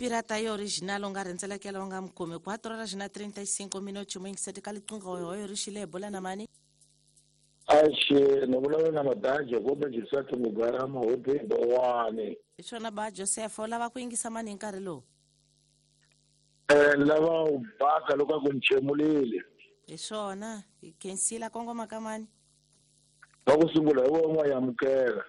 Pirata ya original u nga rhendzelekela u nga mi kumi. 4 horas na 35 minutos muyingiseti ka liqingho hoyo ri xile hi bula na mani? Axe, ni vulavula na Madaha Jacob Joseph Mugarama Hope Bowani. Hi swona ba Joseph, u lava ku yingisa mani hi nkarhi lowu? Ni lava u baka loko a ku ni chemulile. Hi swona, hi khensile a kongoma ka mani? Va ku sungula hi wena n'wa yamukela.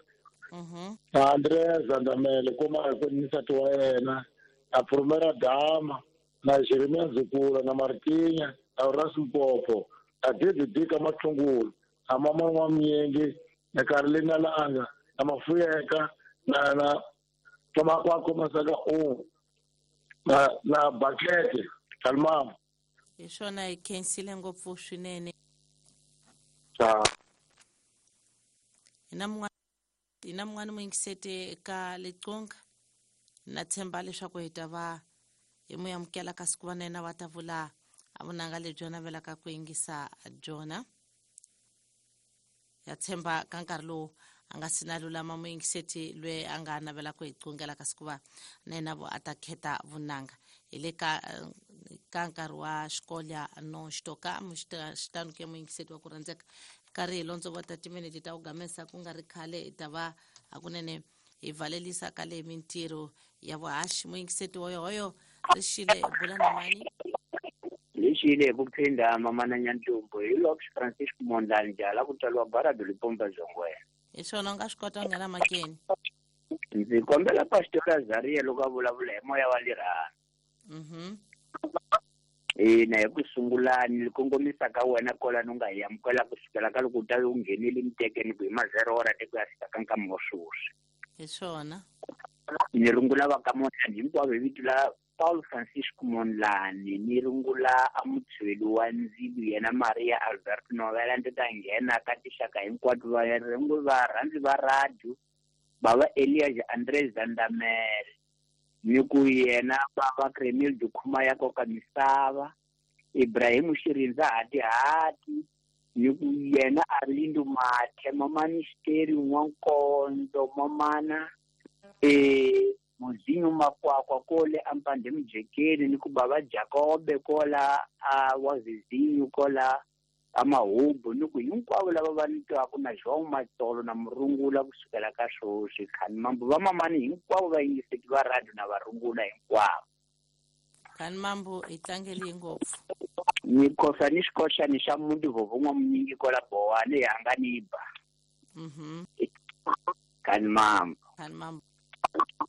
Na Andrea Zandamele kuma hi ku ni nsati wa yena, na Prumera Dama, na Jeremia Nzukula, na Martinya, na Ras Mpopo, na David Dika Matlungulu, na Mama N'wamnyenge, na Carolina Langa, na Mafuyeka, na na na Makwakwa Masaka U, na na Bakete, Kalmama. Hi swona hi khensile ngopfu swinene. Ta. Hi na mun'wana hi na mun'wana muyingiseti ka Liqunga. Na tshemba leswaku hi ta va hi mu amukela kasi ku va na yena va ta vula a vunanga lebyi a navelaka ku yingisa byona. Ya tshemba ka nkarhi lowu a nga si na lulama muyingiseti loyi a nga navela ku hi qungela kasi ku va na yena vo a ta kheta vunanga. Hi le ka ka nkarhi wa xikolya no xitoka xitanu ke muyingiseti wa ku rhandzeka karhi hi londzo vo ta timinete ta ku gamesa ku nga ri khale hi ta va hakunene hi valelisa ka le mintirho ya vuhaxi. Muyingiseti hoyohoyo ri xile bula na mani? Lexile hi ku phinda mamana Nyantlumbu hi Lopes Francisco Mondlane Jala ku tswariwa Barado Lipomba Zongwena. Hi swona u nga swi kota ku nghena makeni. Ndzi kombela Pastor Azaria loko a vulavula hi moya wa lirhandzu. Ina hi ku sungula ni kongomisa ka wena kwalano u nga hi amukela ku sukela ka loko u ta u nghenile mitekeni ku hi ma 0 hora te ku ya fika ka nkama wa sweswi. Hi swona. Ni rungula va ka Mondlane hinkwavo hi vito la Paul Francisco Mondlane, ni rungula a mutshweli wa ndzilu yena Maria Albert Novela ndzi ta nghena ka tixaka hinkwato va rungula varhandzi va radio bava Elias Andres Zandamele ni ku yena bava Kremil Dukhuma ya koka misava Ibrahim Xirindza Hati Hati ni ku yena Arlindo Mathe Mamani Xiteri N'wankondzo Mamana Muzinyo Makwakwa kole ampande mujekeni ni ku bava Jakobe kola a wa Zizinyo kola a Mahubu ni ku hinkwavo lava va ni twaka na João Matsolo na Murungula kusukela ka sweswi khani mambo va mamani hinkwavo va yingiseki va radio na varungula hinkwavo. Khani mambo hi tlangeli ngopfu. Ni khosa ni xikoxani xa muti vovo n'wamunyingi kola Bowani hi hanga ni ba. Khani mambo. Khani mambo.